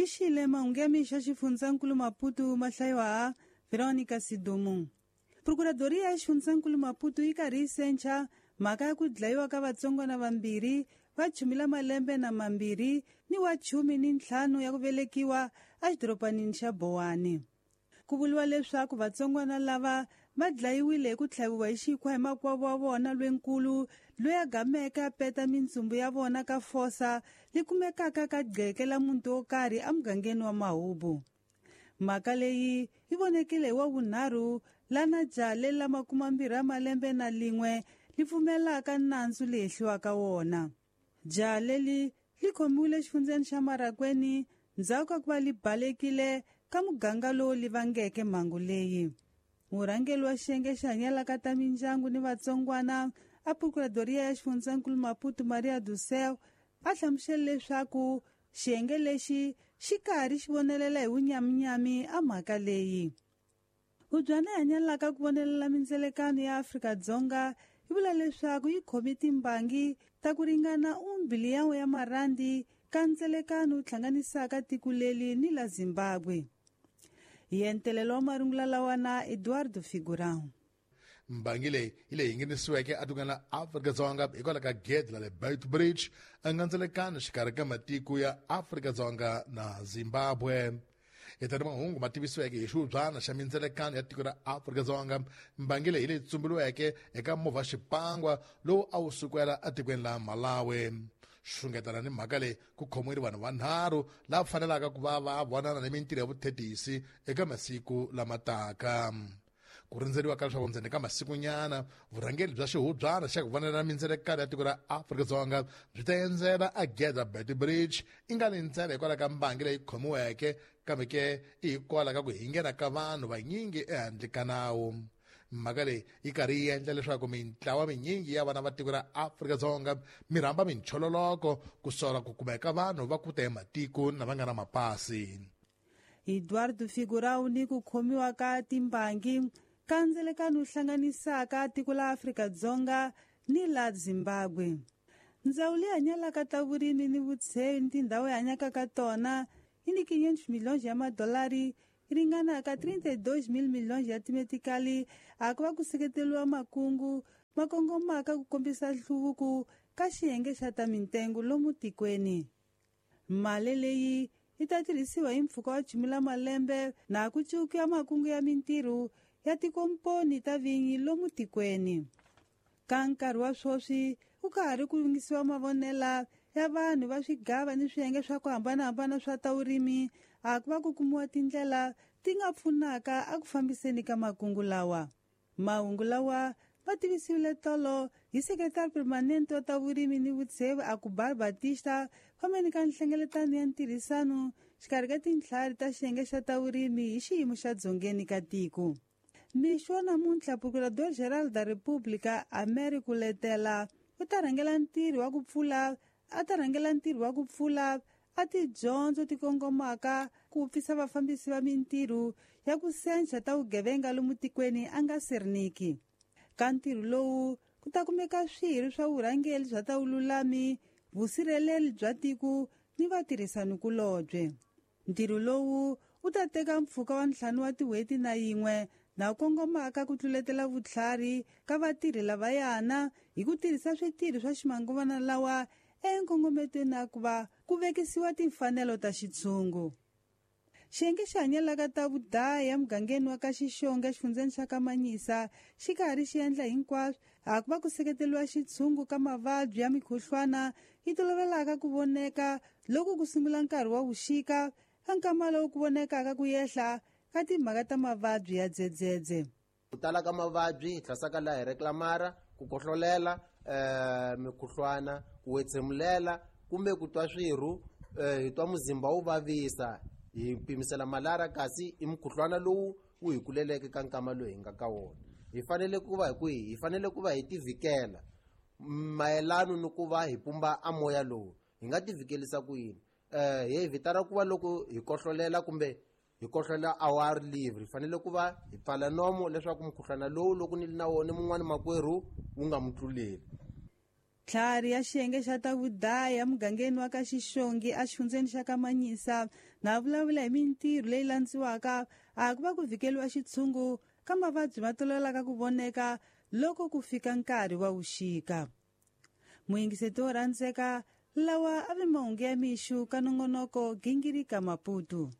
Lixile mahungu ya mixo xifundzankulu Maputo ma hlayiwa ha Veronica Sidumu. Procuradoria ya xifundzankulu Maputo yi karhi yi sencha mhaka ya ku dlayiwa ka vatsongwana vambirhi va chumi la malembe na mambirhi ni wa 15 ya ku velekiwa exidorobanini xa Bowani. Ku vuriwa leswaku vatsongwana lava va dlayiwile hi ku tlhaviwa hi xikhwa hi makwavo wa vona lwenkulu loyi a gameke a peta mintsumbu ya vona ka fosa li kumekaka ka gqeke la muti wo karhi emugangeni wa Mahubu. Mhaka leyi yi vonekile hi wa vunharhu lana jaha leri la 21 li pfumelaka nandzu leyi hehliwaka wona. Jaha leri li khomiwile exifundzeni xa Marakweni ndzhaku ka ku va li balekile ka muganga lowu li vangeke mhangu leyi. Murhangeri wa xiyenge xi hanyelaka ta mindyangu ni vatsongwana a Procuradoria ya xifundzankulu Maputo Maria do Céu a hlamusele leswaku xiyenge lexi xi karhi xi vonelela hi vunyaminyami a mhaka leyi. Hubyana yi hanyelaka ku vonelela mindzelekano ya Afrika-Dzonga yi vula leswaku yi khome timbangi ta ku ringana 1 biliyoni ya marandi ka ndzelekano wu hlanganisaka tiko leri ni la Zimbabwe. Hi entelelo wa marungula lawa na Eduardo Figurão. Mbangi leyi yi leyi nghenisiweke etikweni la Afrika-Dzonga hikwalaho ka gede la le Beitbridge a nga ndzelekano xikarhi ka matiko ya Afrika-Dzonga na Zimbabwe. Hi tani mahungu ma tivisiweke hi xihubyana xa mindzelekano ya tiko ra Afrika-Dzonga, mbangi leyi leyi tsumbuliweke eka movha xipangwa lowu a wu sukela etikweni la Malawi. Xungetana ni mhaka leyi ku khomiwile vanhu vanharhu lava fanelaka ku va va vonana ni mintirho ya vuthetisi eka masiku lama taka. Ku rindzeriwa ka leswaku ndzeni ka masikunyana vurhangeri bya xihubyana xa ku vonela mindzelekano ya tiko ra Afrika-Dzonga byi ta endzela a gede Beitbridge i nga ni ntsena hikwalaho ka mbangi leyi khomiweke, kambe ke i hikwalaho ka ku hingena ka vanhu vanyingi ehandle ka nawu. Mhaka leyi yi karhi yi endla leswaku mintlawa minyingi ya vana va tiko ra Afrika-Dzonga mi rhamba minchololoko ku sola ku kumeka vanhu va kuta hi matiko na va nga na mapasi. Eduardo Figurão ni ku khomiwa ka timbangi ka ndzelekano wu hlanganisaka tiko la Afrika-Dzonga ni la Zimbabwe. Ndzawulo leyi hanyelaka ta vurimi ni vutsheni ni tindhawu yi hanyaka ka tona yi ni 500 milhões ya madolari yi ringanaka 32 mil milhões ya timetikali a ku va ku seketeriwa makungu ma kongomaka ku kombisa nhluvuko ka xiyenge xa ta mintengo lomu tikweni. Mali leyi yi ta tirhisiwa hi mpfhuka wa chumi la malembe na ku cukiwa makungu ya mintirho ya tikomponi ta vinyi lomu tikweni. Ka nkarhi wa sweswi ku ka ha ri ku yingisiwa mavonela ya vanhu va swigava ni swiyenge swa ku hambanahambana swa ta vurimi a ku va ku kumiwa tindlela ti nga pfunaka a ku fambiseni ka makungu lawa. Mahungu lawa va tivisiwile tolo hi sekretari permanente wa ta vurimi ni vutsheve Akubar Batista fambeni ka nhlengeletano ya ntirhisano xikarhi ka tintlhari ta xiyenge xa ta vurimi hi xiyimo xa dzongeni ka tiko. Mixo wa namuntlha Procurador Geral da República Américo Letela u ta rhangela ntirho wa ku pfula a ta rhangela ntirho wa ku pfula a tidyondzo ti kongomaka ku pfisa vafambisi va mintirho ya ku sencha ta vugevenga lomu tikweni a nga serniki. Ka ntirho lowu ku ta kumeka swirho swa vurhangeri bya ta vululami, vusirheleri bya tiko ni vatirhisanikulobye. Ntirho lowu wu ta teka mpfhuka wa 5 wa tin'hweti na yin'we na kongomaka ku tluletela vutlhari ka vatirhi lavayana hi ku tirhisa switirho swa ximanguvana lawa enkongometweni ya ku va ku vekisiwa timfanelo ta xitshungu. Xiyenge xi hanyelaka ta vudaya emugangeni wa ka Xixonga exifundzeni xa ka Manyisa xi karhi xi endla hinkwaswo a ku va ku seketeriwa xitshungu ka mavabyi ya mikhuhlwana yi tolovelaka ku voneka loko ku sungula nkarhi wa vuxika ka nkama lowu ku vonekaka ku yehla ka timhaka ta mavabyi ya dzedzedze. Ku tala ka mavabyi hi hlasaka laha hi reklamara, ku kohlolela, mikhuhlwana, ku wetsemulela kumbe ku twa swirhu, hi twa muzimba wu vavisa, hi pimisela malara kasi i mukhuhlwana lowu wu hi kuleleke ka nkama lowu hi nga ka wona. Hi fanele ku va hi kwihi? Hi fanele ku va hi tivikela mayelano ni ku va hi pumba a moya lowu. Hi nga tivikelisa ku yini? Hi vitana ku va loko hi kohlolela kumbe hi kohlolela our liver, hi fanele ku va hi pfala nomo leswaku mukhuhlwana lowu loko ni ri na wona mun'wani makwerhu wu nga mu tluleli. Tlhari ya xiyenge xa ta vudaya emugangeni wa ka Xixongi exifundzeni xa ka Manyisa na vulavula hi mintirho leyi landziwaka a ku va ku vhikeliwa xitshungu ka mavabyi ma tolovelaka ku voneka loko ku fika nkarhi wa vuxika. Muyingiseti wo rhandzeka, lawa a vi mahungu ya mixu ka nongonoko Gingirika Maputo.